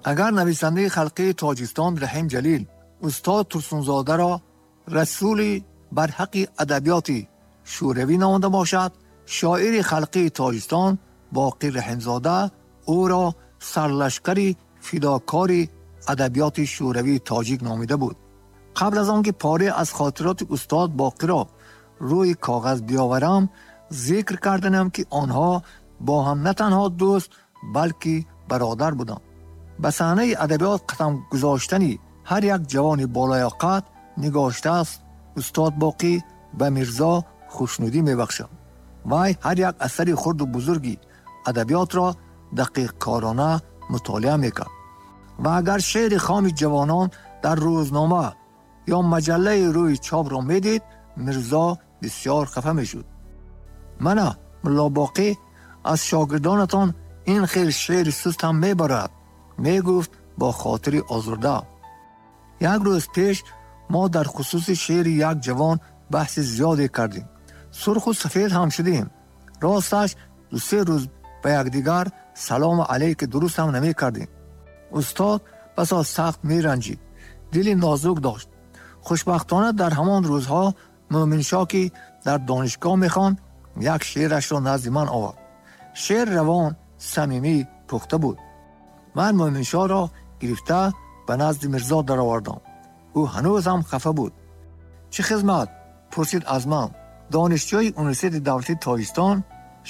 Агар нависандаи халқии Тоҷикистон Раҳим Ҷалил устод Турсунзодаро расули барҳақи адабиёти шӯравӣ номида бошад, шоири халқии Тоҷикистон Боқир Раҳимзода ӯро сарлашкари фидокори адабиёти шӯравии тоҷик номида буд. Қабл аз он ки пора аз хотироти устод Боқирро рӯи коғаз биёварам, зикр карданам ки онҳо бо ҳам на танҳо дӯст, балки бародар буданд. Ба саҳнаи адабиёт қадам гузоштани ҳар як ҷавони болаёқат нигоштааст устод Боқӣ ба Мирзо хушнудӣ мебахшад. Вай ҳар як асари хурду бузурги адабиётро дақиқкорона мутолиа мекард. Ва агар шеъри хоми ҷавонон дар рӯзнома ё маҷаллаи рӯи чопро медид, Мирзо бисёр хафа мешуд. Мана Мулло Боқӣ аз шогирдонатон ин хел шеъри суст ҳам мебарад, мегуфт бо хотири озурда. Як рӯз пеш мо дар хусуси шеъри як ҷавон баҳси зиёде кардем. Сурху сафед ҳам шудем. Росташ ду-се рӯз ба якдигар салому алайки дуруст ҳам намекардем. Устод басо сахт меранҷид, дили нозук дошт. Хушбахтона дар ҳамон рӯзҳо Мӯминшоҳ, ки дар донишгоҳ мехонд, як шеърашро назди ман овард. Шеър равон, самимӣ, пухта буд. Ман Мӯминшоҳро гирифта ба назди Мирзо даровардам. Ӯ ҳанӯз ҳам хафа буд. Чӣ хизмат? Пурсид аз ман. Донишҷӯи Университети давлатии Тоҷикистон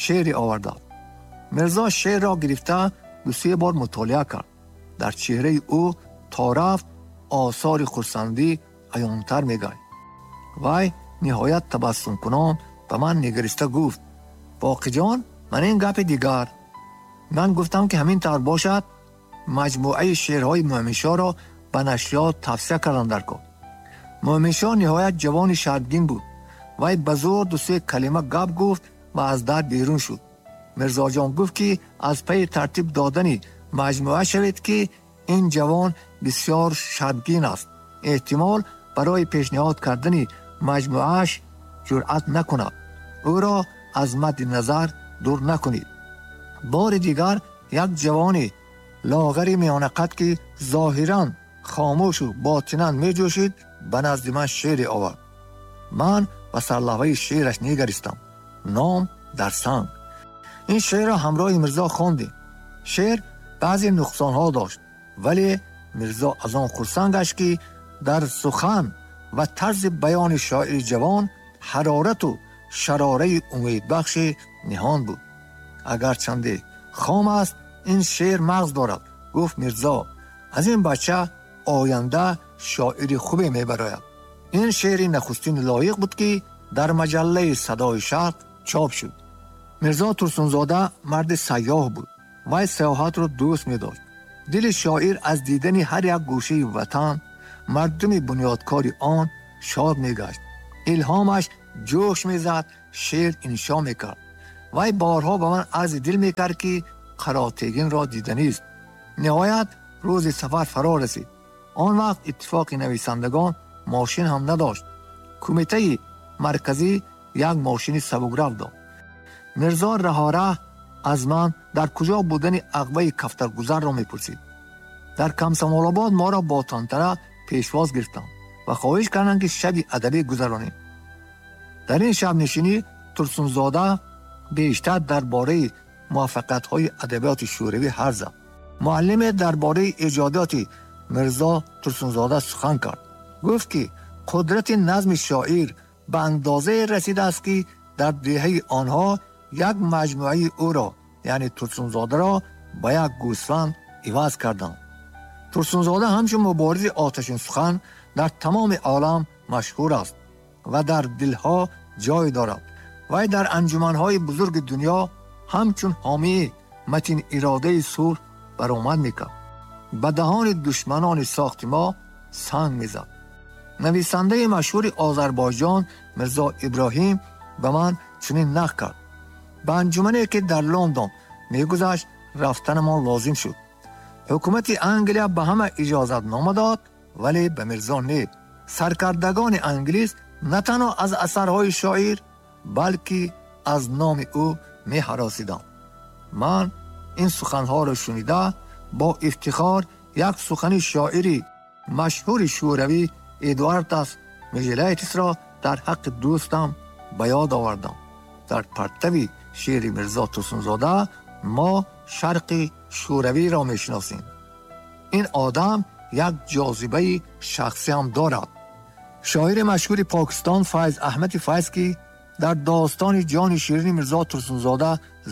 шеъре овардааст. Мирзо шеърро гирифта ду-се бор мутолиа кард. Дар чеҳраи ӯ то рафт осори хурсандӣ аёнтар мегашт. Вай ниҳоят табассумкунон ба ман нигариста гуфт: Боқиҷон, ман ин гапи дигар. Ман гуфтам ки ҳамин тавр бошад, маҷмӯаи шеърҳои Мӯминшоҳро ба нашриёт тавсия кардам дар кор. Мӯминшоҳ ниҳоят ҷавони шармгин буд. Вай ба зӯр ду-се калима гап гуфт ва аз дар берун шуд. Мирзоҷон гуфт ки аз пайи тартиб додани маҷмӯа шавед, ки ин ҷавон бисёр шармгин аст. Эҳтимол барои пешниҳод кардани маҷмӯааш ҷуръат накунад. Ӯро аз мадди назар дур накунед. Бори дигар як ҷавони лоғари миёнақад, ки зоҳиран хомӯшу ботинан меҷӯшид, ба назди ман шеъре овард. Ман ба сарлавҳаи шеъраш нигаристам. Ном дар санг. Ин шеърро ҳамроҳи Мирзо хондем. Шеър баъзе нуқсонҳо дошт, вале Мирзо аз он хурсанд гашт, ки дар сухан ва тарзи баёни шоири ҷавон ҳарорату шарораи умедбахши ниҳон буд. Агарчанде хом аст, ин шеър мағз дорад, гуфт Мирзо. Аз ин бача оянда шоири хубе мебарояд. Ин шеъри нахустин лоиқ буд, ки дар маҷаллаи Садои Шарқ чоп шуд. Мирзо Турсунзода марди сайёҳ буд. Вай сайёҳатро дӯст медошт. Дили шоир аз дидани ҳар як гӯшаи ватан, мардуми бунёдкори он шод мегашт. Илҳомаш ҷӯш мезад, шеър иншо мекард. Вай борҳо ба ман арзи дил мекард, ки Қаротегинро диданист. Ниҳоят рӯзи сафар фаро расид. Он вақт иттифоқи нависандагон мошин ҳам надошт. Кумитаи марказӣ як мошини сабукрав дод. Мирзо раҳораҳ аз ман дар куҷо будани ағваи кафтаргузарро мепурсид. Дар Комсомолобод моро бо тантана пешвоз гирифтанд ва хоҳиш карданд, ки шаби адабӣ гузаронем. Дар ин шабнишинӣ Турсунзода бештар дар бораи муваффақиятҳои адабиёти шӯравӣ ҳарф зад. Муаллиме дар бораи эҷодиёти Мирзо Турсунзода сухан кард. Гуфт, ки қудрати назми шоир ба андозае расидааст, ки дар деҳаи онҳо як маҷмӯаи ӯро, яъне Турсунзодаро, ба як гӯсфанд иваз карданд. Турсунзода ҳамчун муборизи оташин сухан дар тамоми олам машҳур аст ва дар дилҳо ҷой дорад. Вай дар анҷуманҳои бузурги дунё ҳамчун ҳомии матин иродаи сулҳ баромад мекард. Ба даҳони душманони сохти мо санг мезад. Нависандаи машҳури Озарбойҷон Мирзо Иброҳим ба ман чунин нақл кард: ба анҷумане, ки дар Лондон мегузашт, рафтанамон лозим шуд. Ҳукумати Англия ба ҳама иҷозатнома дод, вале ба Мирзо не. Саркардагони англис на танҳо аз асарҳои шоир, балки аз номи ӯ меҳаросиданд. Ман ин суханҳоро шунида бо ифтихор як сухани шоири машҳури шӯравӣ Эдуардас Межелайтисро дар ҳаққи дӯстам ба ёд овардам. Дар партави шеъри Мирзо Турсунзода мо шарқи шӯравиро мешиносем. Ин одам як ҷозибаи шахсӣ ҳам дорад. Шоири машҳури Покистон Файз Аҳмади Файз, ки дар достони ҷони ширини Мирзо Турсунзода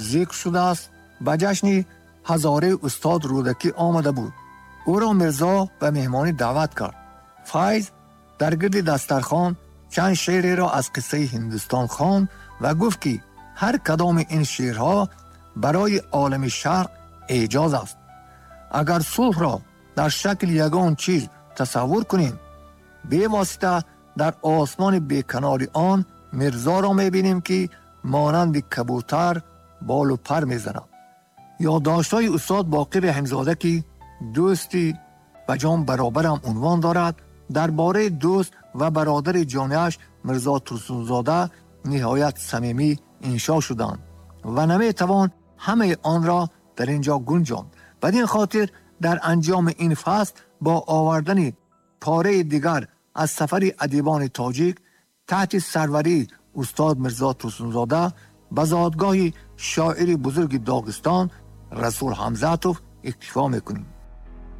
зикр шудааст, ба ҷашни ҳазораи устод Рӯдакӣ омада буд. Ӯро Мирзо ба меҳмонӣ даъват кард. Файз дар гирди дастархон чанд шеъреро аз қиссаи Ҳиндустон хонд ва гуфт, ки ҳар кадоми ин шеърҳо барои олами шарқ эъҷоз аст. Агар сулҳро дар шакли ягон чиз тасаввур кунем, бевосита дар осмони беканори он Мирзоро мебинем, ки монанди кабутар болу пар мезанад. Ёддоштҳои устод Боқир Раҳимзода, ки дӯсти ба ҷон баробарам унвон дорад, дар бораи дӯст ва бародари ҷонияш Мирзо Турсунзода ниҳоят самимӣ иншо шуданд ва наметавон ҳамаи онро дар ин ҷо гунҷонд. Бадин хотир дар анҷоми ин фасл бо овардани пораи дигар аз сафари адибони тоҷик таҳти сарварии устод Мирзо Турсунзода ба зодгоҳи шоири бузурги Доғистон Расул Ҳамзатов иктифо мекунем.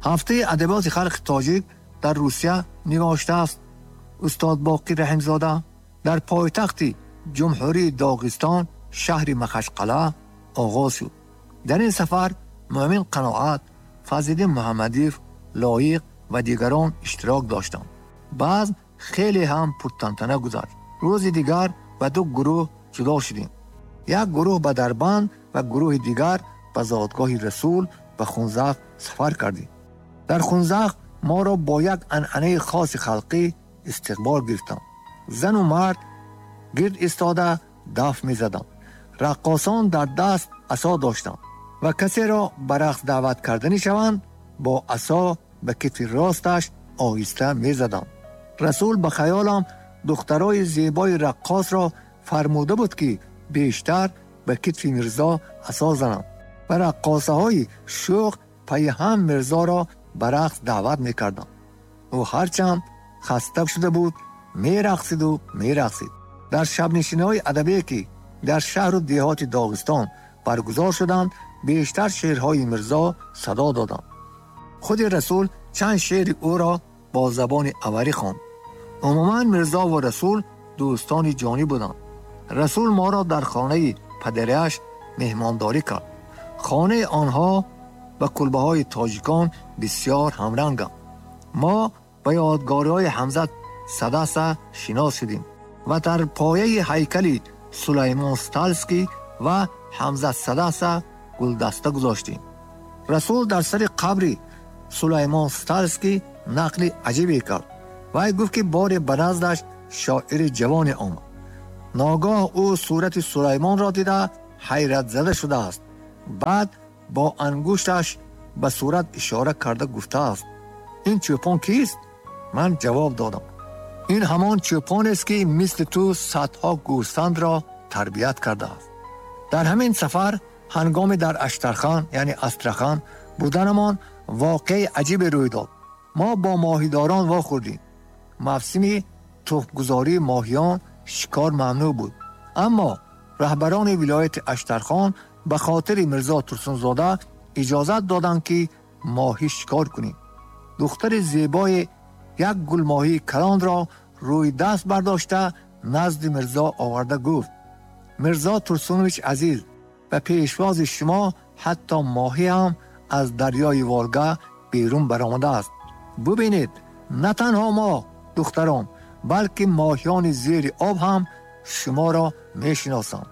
Ҳафтаи адабиёти халқи тоҷик дар Русия нигоштааст устод Боқир Раҳимзода дар пойтахти ҷумҳурии Доғистон шаҳри Махачқала оғоз шуд. Дар ин сафар Муъмин Қаноат, Фазлиддин Муҳаммадиев, Лоиқ ва дигарон иштирок доштанд. Баъз хеле ҳам пуртантана гузашт. Рӯзи дигар ба ду гурӯҳ ҷудо шудем. Як гурӯҳ ба Дарбанд ва гурӯҳи дигар ба зодгоҳи Расул ба Хунзах сафар кардем. Дар Хунзах моро бо як анъанаи хоси халқӣ истиқбол гирифтанд. Зану мард гирд истода даф мезаданд. Раққосон дар даст асо доштанд ва касеро ба рақс даъват карданӣ шаванд, бо асо ба китфи росташ оҳиста мезаданд. Расул ба хаёлам духтарои зебои раққосро фармуда буд, ки бештар ба китфи Мирзо асо зананд ва раққосаҳои шӯх пайи ҳам Мирзоро ба рақс даъват мекарданд. Ӯ ҳарчанд хаста шуда буд, мерақсиду мерақсид. Дар шабнишиниҳои адабие, ки дар шаҳру деҳоти Доғистон баргузор шуданд, бештар шеърҳои Мирзо садо доданд. Худи Расул чанд шеъри ӯро бо забони аварӣ хонд. Умуман Мирзо ва Расул дӯстони ҷонӣ буданд. Расул моро дар хонаи падараш меҳмондорӣ кард. Хонаи онҳо ба кулбаҳои тоҷикон бисёр ҳамранганд. Мо ба ёдгориҳои Ҳамзат Садаса шинос шудем ва дар пояи ҳайкали Сулаймон Сталский ва Ҳамзат Садаса гулдаста гузоштем. Расул дар сари қабри Сулаймон Сталский нақли аҷибе кард. Вай гуфт, ки боре ба наздаш шоири ҷавоне омад. Ногоҳ ӯ сурати Сулаймонро дида ҳайратзада шудааст. Баъд бо ангушташ ба сурат ишора карда гуфтааст: ин чӯпон кист? Ман ҷавоб додам: ин ҳамон чӯпонест, ки мисли ту садҳо гӯсфандро тарбият кардааст. Дар ҳамин сафар ҳангоми дар Аштархан, яъне Астрахан буданамон воқеаи аҷибе рӯй дод. Мо бо моҳидорон вохӯрдем. Мавсими тухмгузории моҳиён шикор мамнӯъ буд, аммо раҳбарони вилояти Аштархон ба хотири Мирзо Турсунзода иҷозат доданд, ки моҳӣ шикор кунем. Духтари зебои як гулмоҳии калонро рӯи даст бардошта назди Мирзо оварда гуфт: Мирзо Турсунович азиз, ба пешвози шумо ҳатто моҳӣ ҳам аз дарёи Волга берун баромадааст. Бубинед, на танҳо мо духтарон, балки моҳиёни зери об ҳам шуморо мешиносанд.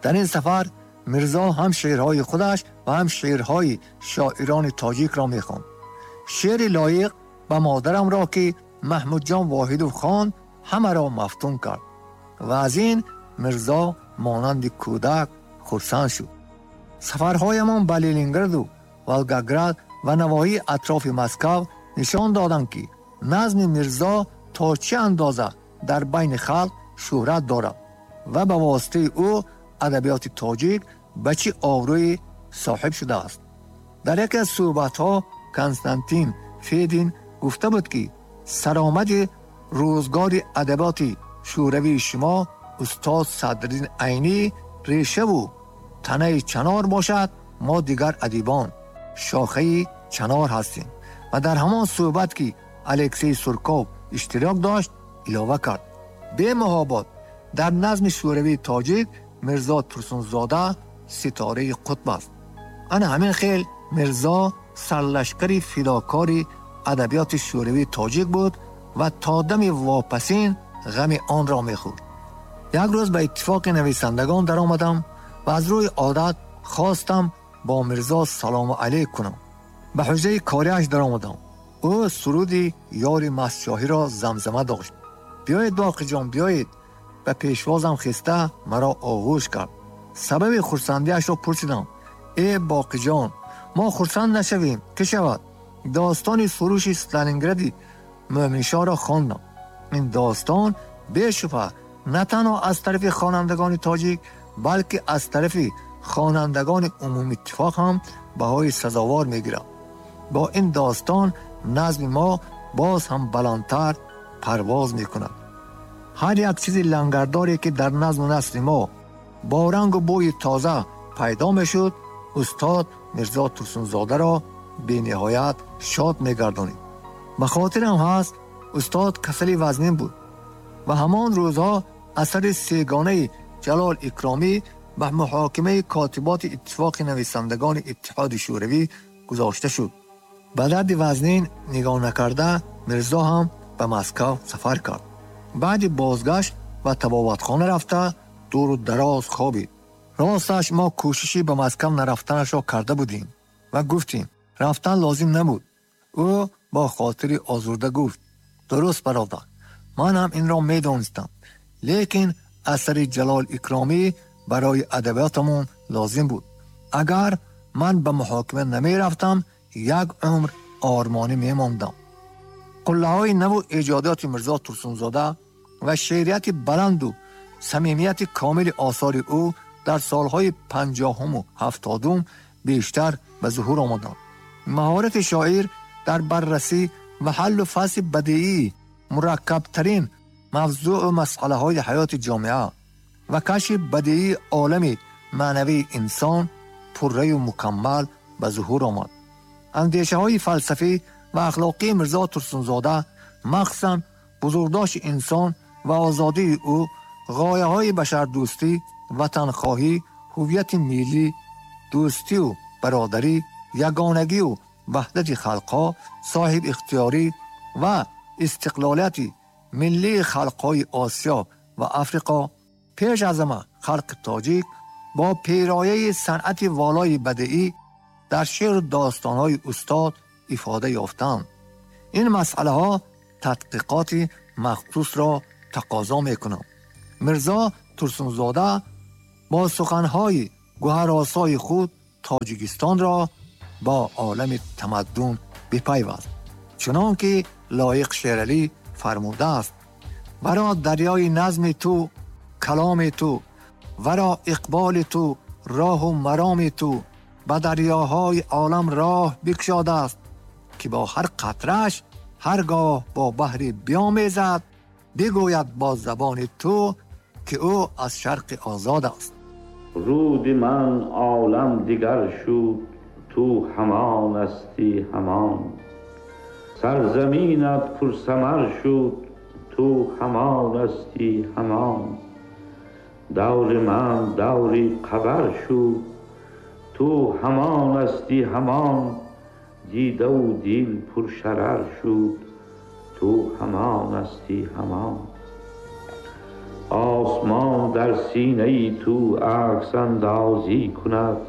Дар ин сафар Мирзо ҳам шеърҳои худаш ва ҳам шеърҳои шоирони тоҷикро мехонд. Шеъри лоиқ ба модарамро, ки Маҳмудҷон Воҳидов хонд, ҳамаро мафтун кард ва аз ин Мирзо монанди кӯдак хурсанд шуд. Сафарҳоямон ба Ленинграду Волгоград ва навоҳии атрофи Москав нишон доданд, ки назми Мирзо то чӣ андоза дар байни халқ шӯҳрат дорад ва ба воситаи ӯ адабиёти тоҷик ба чӣ обрӯе соҳиб шудааст. Дар яке аз суҳбатҳо Константин Федин гуфта буд, ки саромади рӯзгори адабиёти шӯравии шумо устод Садриддин Айнӣ решаву танаи чанор бошад, мо дигар адибон шохаи чанор ҳастем. Ва дар ҳамон суҳбат, ки Алексей Сурков иштирок дошт, илова кард: бемуҳобот дар назми шӯравии тоҷик Мирзо Турсунзода ситораи қутб аст. Ана ҳамин хел Мирзо сарлашкари фидокори адабиёти шӯравии тоҷик буд ва то дами вопасин ғами онро мехӯрд. Як рӯз ба иттифоқи нависандагон даромадам ва аз рӯи одат хостам бо Мирзо салому алейк кунам. Ба ҳуҷраи кориаш даромадам. Ӯ суруди ёри мастшоҳиро замзама дошт. Биёед, Боқиҷон, биёед. Ба пешвозам хеста маро оғӯш кард. Сабаби хурсандиашро пурсидам. Э, Боқиҷон, мо хурсанд нашавем, ки шавад? Достони суруши Сталингради Мӯъминшоҳро хондам. Ин достон бешубҳа на танҳо аз тарафи хонандагони тоҷик, балки аз тарафи хонандагони умумиттифоқ ҳам баҳои сазовор мегирад. Бо ин достон назми мо боз ҳам баландтар парвоз мекунад. Ҳар як чизи лангардоре, ки дар назму насри мо бо рангу бӯи тоза пайдо мешуд, устод Мирзо Турсунзодаро бениҳоят шод мегардонид. Ба хотирам ҳаст, устод касали вазнин буд ва ҳамон рӯзҳо асари сегонаи Ҷалол Икромӣ ба муҳокимаи котиботи иттифоқи нависандагони Иттиҳоди Шӯравӣ гузошта шуд. Ба дарди вазнин нигоҳ накарда, Мирзо ҳам ба Москав сафар кард. Баъди бозгашт ба табобатхона рафта дуру дароз хобид. Росташ, мо кӯшиши ба Москав нарафтанашро карда будем ва гуфтем, рафтан лозим набуд. Ӯ бо хотири озурда гуфт: дуруст, бародар, ман ҳам инро медонистам, лекин асари Ҷалол Икромӣ барои адабиётамон лозим буд. Агар ман ба муҳокима намерафтам, як умр ормонӣ мемондам. Қуллаҳои наву эҷодиёти Мирзо Турсунзода ва шеърияти баланду самимияти комили осори ӯ дар солҳои 50-уму 70-ум бештар ба зуҳур омаданд. Маҳорати шоир дар баррасӣ ва ҳаллу фасли бадиии мураккабтарин мавзӯъу масъалаҳои ҳаёти ҷомеа ва кашфи бадиии олами маънавии инсон пурраю мукаммал ба зуҳур омад. Андешаҳои фалсафӣ ва ахлоқии Мирзо Турсунзода, махсусан бузургдошти инсон ва озодии ӯ, ғояҳои башардӯстӣ, ватанхоҳӣ, ҳуввияти миллӣ, дӯстию бародарӣ, ягонагию ваҳдати халқҳо, соҳибихтиёрӣ ва истиқлолияти миллии халқҳои Осиё ва Африқо, пеш аз ҳама халқи тоҷик, бо пирояи санъати волои бадиӣ дар шеъру достонҳои устод ифода ёфтанд. Ин масъалаҳо тадқиқоти махсусро тақозо мекунанд. Мирзо Турсунзода бо суханҳои гӯҳаросои худ Тоҷикистонро бо олами тамаддун бипайваст, чунон ки Лоиқ Шералӣ фармудааст: варо дарёи назми ту каломи ту, варо иқболи ту роҳу мароми ту ба дарёҳои олам роҳ бикушодааст, ки бо ҳар қатраш ҳар гоҳ бо баҳри биомезад, бигӯяд бо забони ту, ки ӯ аз шарқи озод аст. Руди ман олам дигар шуд, ту ҳамон ҳастӣ ҳамон. Сарзаминат пурсамар шуд, ту ҳамон ҳастӣ ҳамон. Даври ман даври қабар шуд, ту ҳамон ҳастӣ ҳамон. Дидаву дил пуршарар шуд, ту ҳамон ҳастӣ ҳамон. Осмон дар синаи ту акс андозӣ кунад,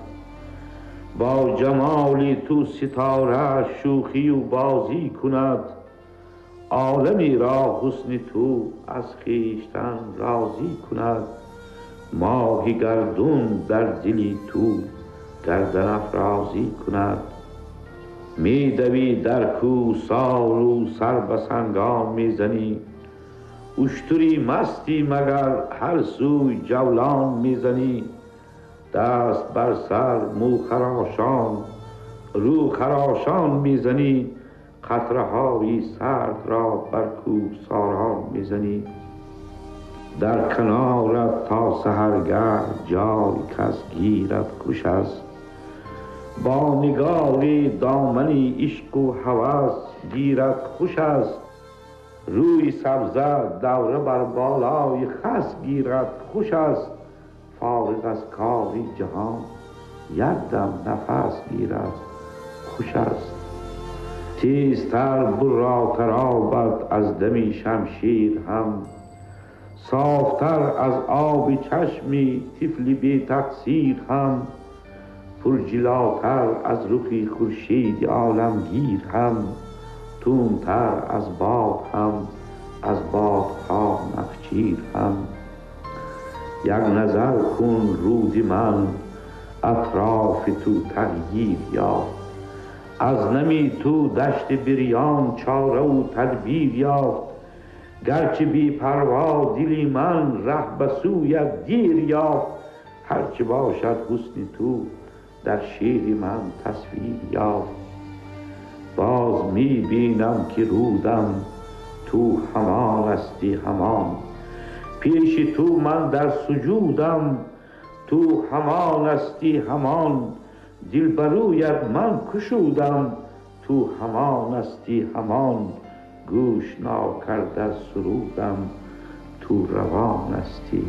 бо ҷамоли ту ситора шӯхию бозӣ кунад. Оламеро ҳусни ту аз хештан розӣ кунад. Моҳи гардун дар дили ту гардан афрозӣ кунад. Медавӣ дар кӯҳсору сар ба сангон мезанӣ, уштури мастӣ магар ҳар сӯй ҷавлон мезанӣ. Даст бар сар мӯхарошон رو خراشان میزنی، قطره های سرد را بر کوهساران میزنی. در کنارت تا سحرگه جای کس گیرد خوش است، با نگاری دامنی عشق و هوس گیرد خوش است. روی سبزه دوره بر بالای خس گیرد خوش است، فارغ از کاری جهان یک دم نفس گیرد خوش است. تیزتر براتر آبد از دمی شمشیر هم، صافتر از آب چشمی طفل بی تقصیر هم، پرجلاتر از رخی خورشید عالمگیر هم، تندتر از باد هم از بادها نخجیر هم. یک نظر کن رود من اطراف تو تغییر یافت، از نمی تو دشت بریان چاره و تدبیر یافت. گرچه بی پروا دلی من ره به سویت دیر یافت، هرچه باشد حسن تو در شعر من تصویر یافت. باز می بینم که رودم تو همان استی همان، پیش تو من در سجودم تو همان استی همان. دل برویت من کشودم تو همان استی همان، گوش ناکرده سرودم تو روان استی